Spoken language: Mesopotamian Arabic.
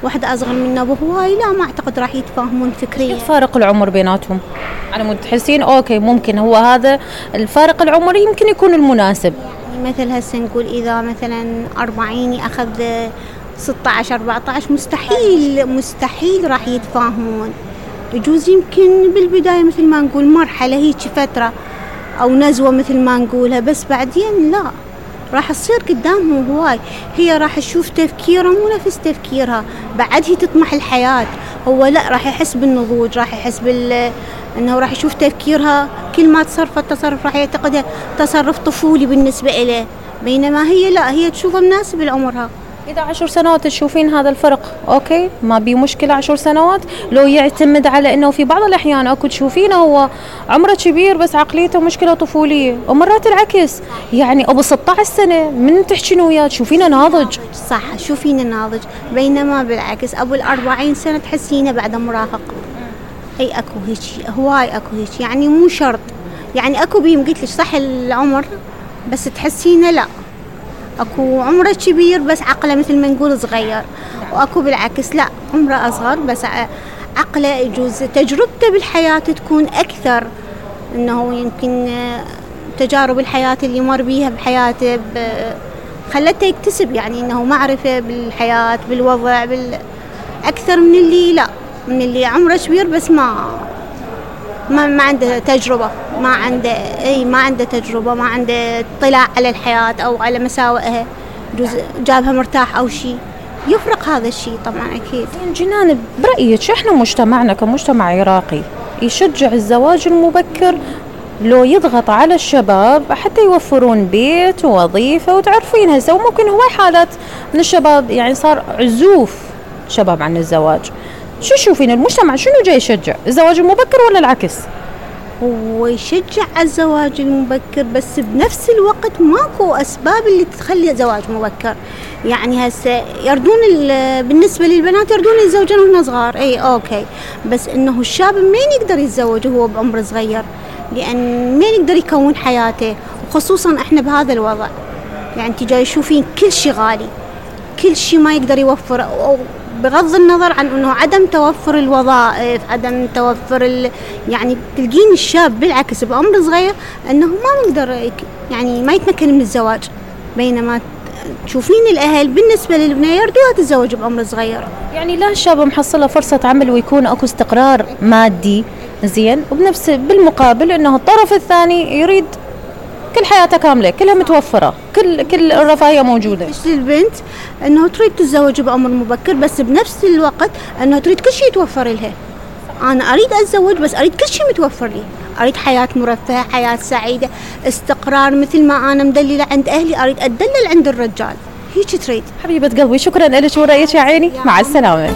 واحدة أصغر منه بهواي لا ما أعتقد راح يتفاهمون فكريا. فارق العمر بيناتهم على مود تحسين أوكي ممكن هو هذا الفارق العمري يمكن يكون المناسب. يعني مثل هسه نقول إذا مثلا 40 أخذ 16 14 مستحيل راح يتفاهمون. يجوز يمكن بالبداية مثل ما نقول مرحلة هيك فترة أو نزوة مثل ما نقولها، بس بعدين لا راح تصير قدامهم هواي. هي راح تشوف تفكيره مو نفس تفكيرها، بعد هي تطمح الحياة، هو لا راح يحس بالنضوج، راح يحس انه راح يشوف تفكيرها كل ما تصرفت تصرف راح يعتقدها تصرف طفولي بالنسبة إليه، بينما هي لا هي تشوفه مناسب لعمرها. إذا 10 سنوات تشوفين هذا الفرق أوكي ما بي مشكلة. 10 سنوات لو يعتمد على إنه في بعض الأحيان أكو تشوفينه هو عمره كبير بس عقليته مشكلة طفولية، ومرات العكس يعني أبو 16 سنة من تحكين وياه تشوفينه ناضج. صح تشوفينه ناضج، بينما بالعكس أبو 40 سنة تحسينه بعد مراهق. أي أكو هيك هواي أكو هيك يعني مو شرط يعني أكو بيم قلت لك صح العمر بس تحسينه لا اكو عمره كبير بس عقله مثل ما نقول صغير، واكو بالعكس لا عمره اصغر بس عقله يجوز تجربته بالحياه تكون اكثر، انه يمكن تجارب الحياه اللي مر بيها بحياته خلته يكتسب يعني انه معرفه بالحياه بالوضع اكثر من اللي لا من اللي عمره كبير بس ما عنده تجربة، ما عنده تجربة، ما عنده اطلاع على الحياة أو على مساوئها، جابها مرتاح أو شيء يفرق هذا الشيء طبعا أكيد. جنان برأيك إحنا مجتمعنا كمجتمع عراقي يشجع الزواج المبكر لو يضغط على الشباب حتى يوفرون بيت ووظيفة؟ وتعرفين هسه وممكن هواي حالات من الشباب يعني صار عزوف شباب عن الزواج. شو تشوفين المجتمع شنو جاي يشجع الزواج المبكر ولا العكس؟ هو يشجع الزواج المبكر بس بنفس الوقت ماكو أسباب اللي تخلي الزواج مبكر. يعني هسه يردون بالنسبة للبنات يردون يتزوجون وهم صغار أي أوكي، بس إنه الشاب مين يقدر يتزوج وهو بعمر صغير؟ لأن مين يقدر يكون حياته، وخصوصا إحنا بهذا الوضع يعني انت جاي تشوفين كل شيء غالي، كل شيء ما يقدر يوفر، بغض النظر عن انه عدم توفر الوظائف، عدم توفر يعني تلقين الشاب بالعكس بعمر صغير انه ما نقدر يعني ما يتمكن من الزواج، بينما تشوفين الاهل بالنسبه للبنيه يرضوها تتزوج بعمر صغير. يعني لا الشاب محصله فرصه عمل ويكون اكو استقرار مادي زين، وبنفس بالمقابل انه الطرف الثاني يريد كل حياته كامله كلها متوفره، كل الرفاهيه موجوده. البنت انه تريد تتزوج بعمر مبكر بس بنفس الوقت انه تريد كل شيء يتوفر لها. انا اريد اتزوج بس اريد كل شيء متوفر لي، اريد حياه مرفهه، حياه سعيده، استقرار مثل ما انا مدلله عند اهلي اريد اتدلل عند الرجال. هيك تريد. حبيبه قلبي شكرا لك ورأيك يا عيني، مع السلامه.